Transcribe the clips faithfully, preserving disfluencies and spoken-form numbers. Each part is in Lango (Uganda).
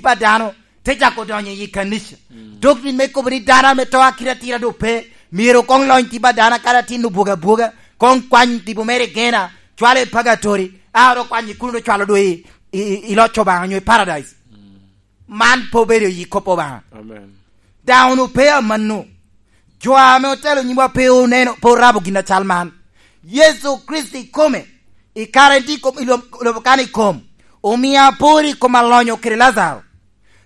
pa dano, te cako donyo i kanica. Mm. Doctrine me kobo ni dano ame to akite atira doŋ pe, myero koŋ lony tip a dano kadi atin obwogo abwoga, koŋ kwany tipo mere i gena, cwalo i pagatori, a oro kwany i kuno, cwalo doŋ i, i, i, i loc Obaŋa onyo i paradise. Mm. Man pe obedo i kop Obaŋa. Amen. Daŋ onwoŋo pe amanno. Jo ame otelo nyimwa pe oneno, pe orabo gin acal man. Yecu Kricito ikome, i kare en tye i kom, i lob-, lobo kan i kom, omio apor i kom alonyo kede Lajaro.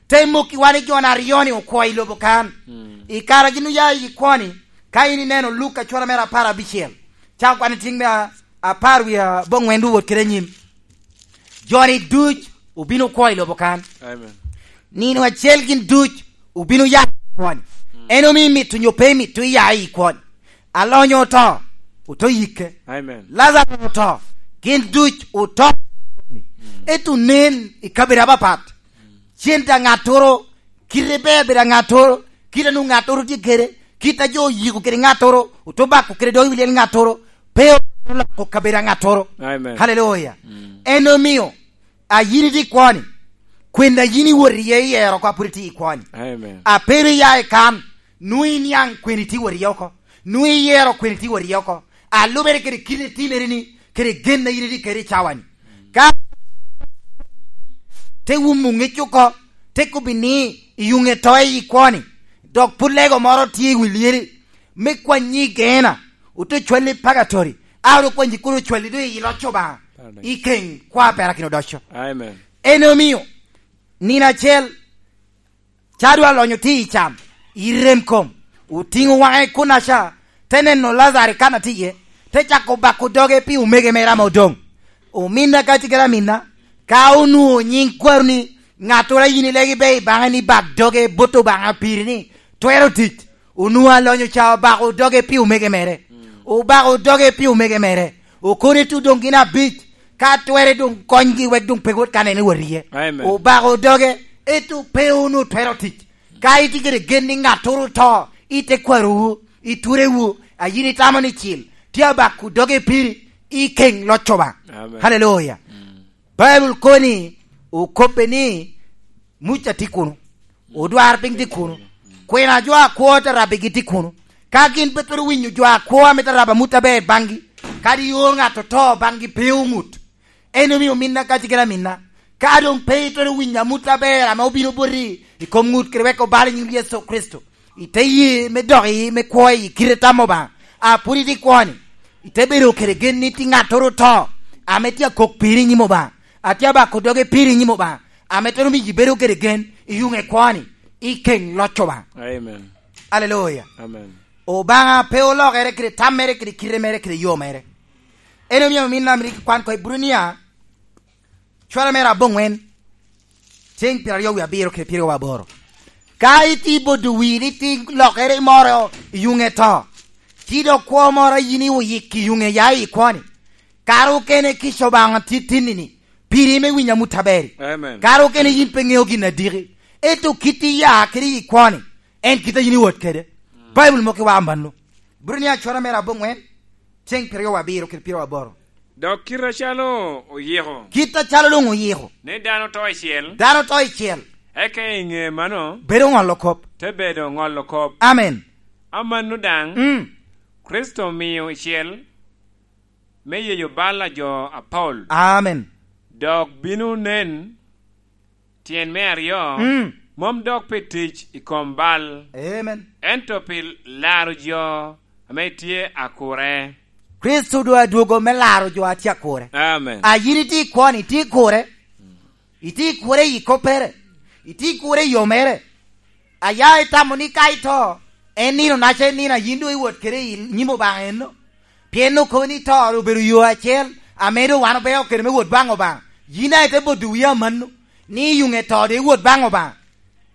Te mokki wan i jo aryo-ni okwo i lobo kan. Mm. I kare gin oya i kwo-ni, ka in ineno Luka cura mere apar abicel, cako kwan i tiŋ me a-, apar wie aboŋwen wot kede anyim. Jo-ni duc obino kwo i lobo kan. Amen. Nino acel gin duc obino ya i kwo-ni. Mm. En omio imito onyo pe imito iya i kwo-ni. Alonyo oto, oto yikke. Amen. Lazaro oto, gin duc oto. Mm. Ento nen i kabedo apapat. Cen daŋ ŋattoro, kite ber bedo a ŋattoro, kite a nwoŋo ŋattoro tye kede, kite a jo oyiko kede ŋattoro, oto bako kede dog i wi lyel ŋattoro, pe oloko kabedo a ŋattoro. Amen. Haleluya. Mm. En omio, a yin itye i kwo-ni, kwena yin iwot iye iyero oko a pwod itye i kwo-ni. Amen. A pe ru iya i kan, nwoŋo iniaŋ kwena itye wot iye oko, nwoŋo iyero kwena itye wot iye oko. A lubere kede kite itimere-ni, kede gen a yin itye kede i cawa-ni. Ka te wumo ŋec oko, te kobbi ni, iyuŋe to i kwo-ni, dok pwod lego moro tye i wi lyeli, me kwanyi i gena, ote cwalli i pagatori, a ru kwanyi kono cwalli doŋ i loc Obaŋa, i keŋ kwa perakino odoco. Amen. En omio, nino acel, Ca dwe alonyo tye i cam, i rem kom, otiŋo waŋe kunaca, te neno Lazaro kan a tye iye, te cako bako doge pi omege mere ame odoŋ. Ominna ka tye kede aminna, ka onwoŋo nyiŋ kwaroni, ŋattoro a yin ilegi be i baŋe ni bak doge bot Obaŋa piri ni twero tic, onwoŋo alonyo ca obako doge pi omege mere. Mm. Obako doge pi omege mere. Okone tu doŋ gin abic, ka twere doŋ konygi wek doŋ pe wot kan en ewot iye. Amen. Obako doge, ento pe wunu twero tic. Ka itye kede gen ni ŋattoro oto, ite kwarowu, i turewu, a yin itamo ni cil, tye abako doge piri, i keŋ loc Obaŋa. Amen. Haleluya. Mm. Baibul koni okobbe ni, Muca tye kuno, odwar piny tye kuno, kwena jo akwo te rabbigi tye kuno. Ka gin pe twero winyo jo akwo ame te rabo amut aber baŋgi, kadi ior ŋat oto baŋgi pe oŋut. En omio ominna ka tye kede aminna, ka doŋ pe itwero winyo amut aber ame obino boti i kom ŋut kede wek obal i nyiŋ Yecu Kricito, ite ye me dok i me kwo i kite tam Obaŋa, a pwod itye i kwo-ni, ite bedo kede gen ni tye ŋattoro oto, ame tye akok piri i nyim Obaŋa, atye abako doge piri i nyim Obaŋa, ame twero miyo ibedo kede gen i yuŋe kwo-ni, i keŋ loc Obaŋa. Amen. Aleluya. Amen. Obaŋa pe olokere kede tam mere, kede kite mere, kede yo mere. En omio min amirik kwan ko Ibrania, cwara mere aboŋwen, ceng pyeraryo wie abiro kede pyeraryo aboro. Ka itye bodo wii ni tye lokere moro i yuŋe to, ci dok kwo moro a yin oyik i yuŋe ya i kwo-ni, kara okene kica Obaŋa tye tinni-ni, piri me winyo amut aber-ri. Amen. Kara okene yin pe ŋeo gin adiki, ento kit iya kede i kwo-ni, en kit a yin iwot kede. Mm. Baibul moko iwa amanno. Ibrania cwara mere aboŋwen, ceng pyeraryo abiro kede pyeraryo aboro. Dok kit acalo oyiko. Kit acalo doŋ oyiko. Ni dano to icel. Dano to icel. Eka i ŋe mano. Bedo ŋolo kop. Te bedo ŋolo kop. Amen. Amanno daŋ, mm, Kricito omio icel me yeyo bal a jo apol. Amen. Dok bino nen tyen me aryo, mm, mom dok pi tic i kom bal, amen, ento pi laro jo ame tye akure. Kricito doŋ adwogo me laro jo a tye akure. Amen. A yin itye i kwo-ni, itye i kure. Itye i kure i koppere. Itye i kure i yo mere. Aya itamo ni ka ito, en nino naca en nino a yin doŋ iwot kede i nyim Obaŋa eno. Pien okobo ni to ru obedo yo acel, ame doŋ wan obeo kede me wot baŋ Obaŋa. Yin daŋ ite bodo wii amanno, ni i yuŋe to doŋ iwot baŋ Obaŋa.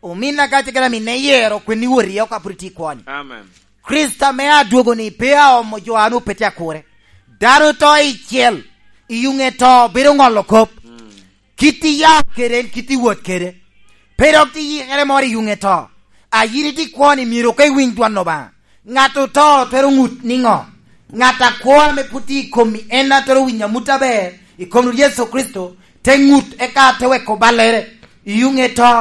Ominna ka tye kede aminna iyero kwene iwot iye oko a pwod itye i kwo-ni. Amen. Kricito ame adwogo-ni pe aomo jo a nwoŋo pe tye akure. Dano to icel, i yuŋe to bedo ŋolo kop. Mm. Kit iya kede en, kit iwot kede. Pe dok tye yikere moro i yuŋe to. A yin itye i kwo-ni myero koŋ iwiny dwon Obaŋa. Ŋat oto twero ŋut niŋo? Ŋat akwo ame pwod tye i komi en a twero winyo amut aber i kom Rwot Yecu Kricito, te ŋut eka te weko ballere i yuŋe to,